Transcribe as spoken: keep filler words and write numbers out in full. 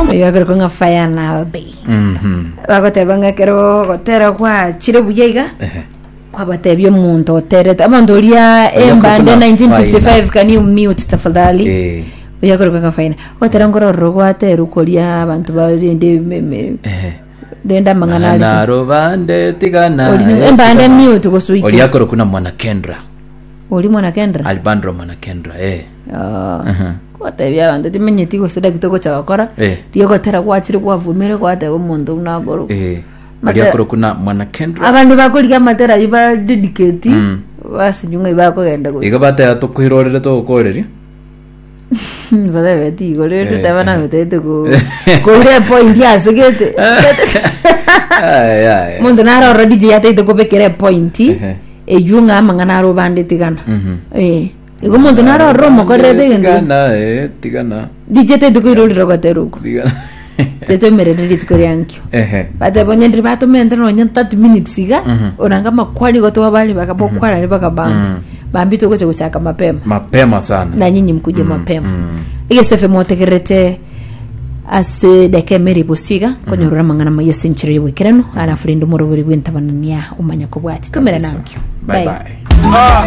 Oyo ng'a fire na bay. Mhm. Bagoteba ng'a ekero gotera gwachire buya iga Ehe. kwabatebia omonto oterete omonto oria Oyo embande akorokwa nineteen fifty five, Faina. can you mute tafadhali? Eh. Oyo akorokwa ng'a Faina gotera ngorororo gwaterwa koria abanto barende me- me- Ehe. rende amang'ana arise. Naro bande tigana. Ori- embande mute gosuike. Oria akorokwa na Mwana Kendra. Ori Mwana Kendra. Albandro Mwana Kendra, eh. Ah. Mhm. Gwatebia abanto timenyeti gose daki togocha gokora Eh. riogotera gwachire gwavumire gwateba omonto buna akorokwa. Eh. Matera- Oria akorokwa na Mwana Kendra. Abandu bakorigia amatera ayu ba dedicate Mm. basinywa ng'ai bakogenda gocha. Igo bateba tokoirorere togokoreria. Batebeti igo rende Eh, teba eh. nametete ko koira epoint ase gete. Ai, ai. Monto naroro D J ataete kobekera epoint Ehe. eywo ng'a amang'ana aro bande tigana. Mhm. Eh, igo monto naroro omokorerete egento. Tigana, eh, tigana. D J ataete koirorera gotera okwo. Tigana. Tetemerere rituko riankio. Ehe. Bateba onye ndiri batomente nonya thirty minutes iga Mhm. oranga amakwani igo twabare bakabokwarani bakabambi bambi togocha gochaka mapema. Mapema sana. Na nyinyi mkuje mapema. mm. Egesefe motegerete ase deka emeri bosiga konyorora amang'ana maya ase enchera y'oboikeranu, alafu rende omorobori bw'entabanania omanya kobwati tumere Kabisa. nankio. Bye bye. Ah.